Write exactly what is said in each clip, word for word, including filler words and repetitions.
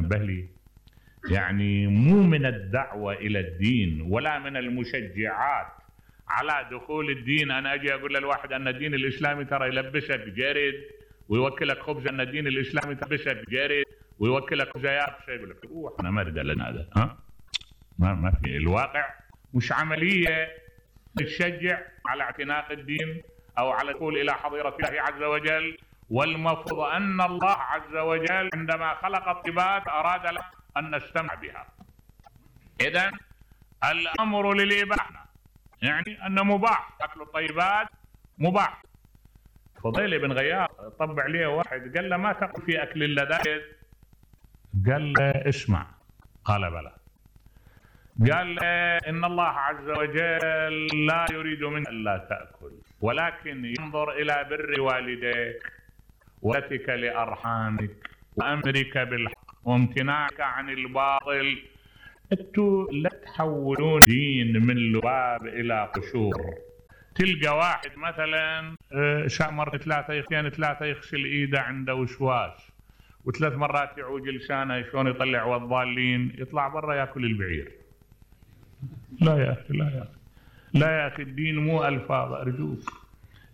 نبه لي. يعني مو من الدعوة إلى الدين ولا من المشجعات على دخول الدين أنا أجي أقول للواحد أن الدين الإسلامي ترى يلبسك جرد ويوكلك خبز، أن الدين الإسلامي يلبسك جرد ويوكلك خبزيات، شيء يقول لك روح أنا ما أريد لنا هذا. ها ما ما في الواقع مش عملية تشجع على اعتناق الدين أو على الدخول إلى حظيرة الله عز وجل. والمفروض أن الله عز وجل عندما خلق الطيبات أراد لنا أن نستمع بها. إذن الأمر للإباحة، يعني أنه مباح أكل الطيبات، مباح. فضيل بن غياث طبع عليه واحد قال له ما تقل في أكل اللذائذ؟ قال له اسمع. قال بلى. قال له إن الله عز وجل لا يريد منك ألا تأكل ولكن ينظر إلى بر والديك وصلتك لأرحامك وأمرك بالحق وامتناعك عن الباطل. انتوا لا تحولون دين من لباب إلى قشور. تلقى واحد مثلا مرة ثلاثة يخشين ثلاثة يغسل إيده عنده وشواش وثلاث مرات يعوج لسانه شلون يطلع والضالين، يطلع برا ياكل البعير. لا يا أخي، لا يا أخي، لا يا أخي، الدين مو ألفاظ أرجوك.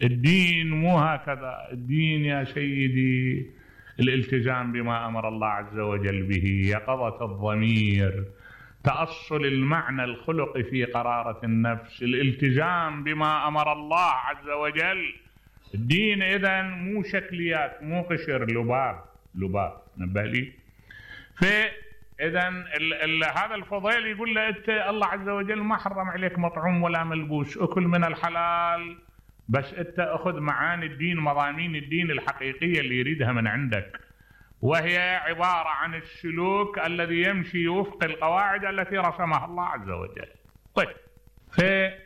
الدين مو هكذا. الدين يا سيدي الالتزام بما أمر الله عز وجل به، يقظة الضمير، تأصل المعنى الخلقي في قرارة النفس، الالتزام بما أمر الله عز وجل. الدين إذن مو شكليات، مو قشر، لباب لباب. نبه لي. فإذن هذا الفضيل يقول له أنت الله عز وجل ما حرم عليك مطعوم ولا ملبوس، أكل من الحلال، بس أنت أخذ معاني الدين، مضامين الدين الحقيقية اللي يريدها من عندك، وهي عبارة عن السلوك الذي يمشي وفق القواعد التي رسمها الله عز وجل. طيب، فإذا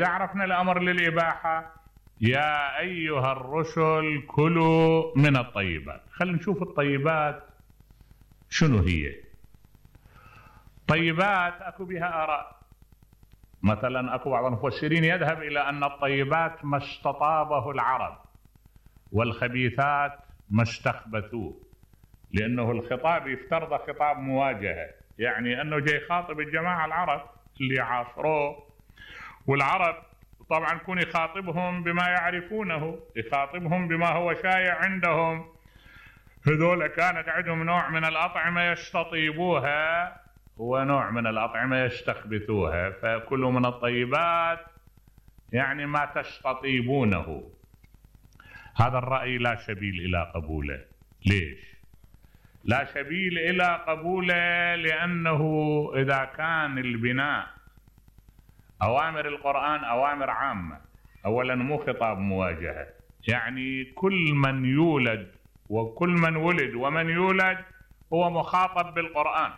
عرفنا الأمر للإباحة، يا أيها الرسل كلوا من الطيبات. خلينا نشوف الطيبات شنو هي. طيبات أكو بها آراء. مثلا أكو بعض المفسرين يذهب إلى أن الطيبات ما استطابه العرب والخبيثات ما استخبثوه، لأنه الخطاب يفترض خطاب مواجهة، يعني أنه جاي يخاطب الجماعة العرب اللي عاصروه، والعرب طبعا يكون يخاطبهم بما يعرفونه، يخاطبهم بما هو شائع عندهم. هذول كانت عندهم نوع من الأطعمة يستطيبوها ونوع من الأطعمة يستخبثوها، فكلوا من الطيبات يعني ما تستطيبونه. هذا الرأي لا سبيل إلى قبوله. ليش؟ لا سبيل إلى قبوله لأنه إذا كان البناء أوامر القرآن أوامر عامة، أولا مو خطاب مواجهة، يعني كل من يولد وكل من ولد ومن يولد هو مخاطب بالقرآن.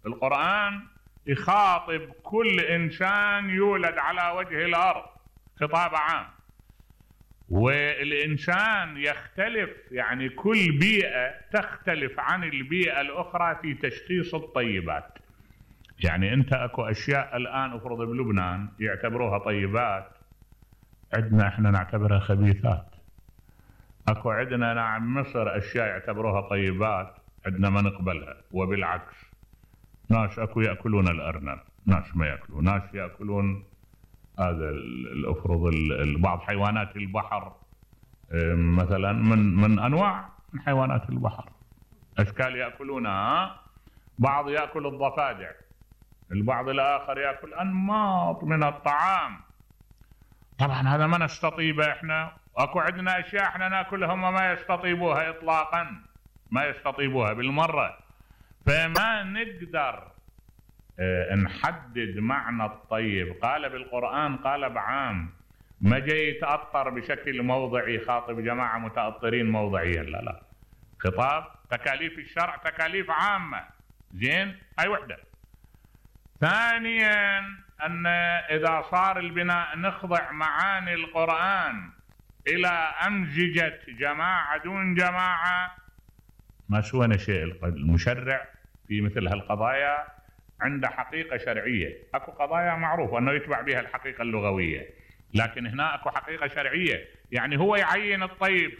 القرآن يخاطب كل إنسان يولد على وجه الأرض، خطاب عام. والإنسان يختلف، يعني كل بيئة تختلف عن البيئة الأخرى في تشخيص الطيبات. يعني أنت أكو أشياء الآن أفرض بلبنان يعتبروها طيبات، عندنا إحنا نعتبرها خبيثات. أكو عندنا نعم مصر أشياء يعتبروها طيبات، عندنا ما نقبلها. وبالعكس، ناس أكو يأكلون الأرنب، ناس ما يأكلون، ناس يأكلون هذا الأفرض بعض حيوانات البحر، مثلا من من أنواع من حيوانات البحر، أشكال يأكلونها. بعض يأكل الضفادع، البعض الآخر يأكل أنماط من الطعام. طبعا هذا ما نستطيبه إحنا. أكو عندنا أشياء إحنا نأكلها هم ما يستطيبوها إطلاقا، ما يستطيبوها بالمرة. فما نقدر اه نحدد معنى الطيب. قال بالقرآن قال بعام، ما جاي يتأطر بشكل موضعي، يخاطب جماعة متأطرين موضعيا، لا لا، خطاب تكاليف الشرع تكاليف عامة. زين، هاي وحدة. ثانيا أن إذا صار البناء نخضع معاني القرآن إلى أمزجة جماعة دون جماعة، ما سوينا شيء. المشرع في مثل هالقضايا عنده حقيقة شرعية. أكو قضايا معروفة أنه يتبع بها الحقيقة اللغوية، لكن هنا أكو حقيقة شرعية، يعني هو يعين الطيب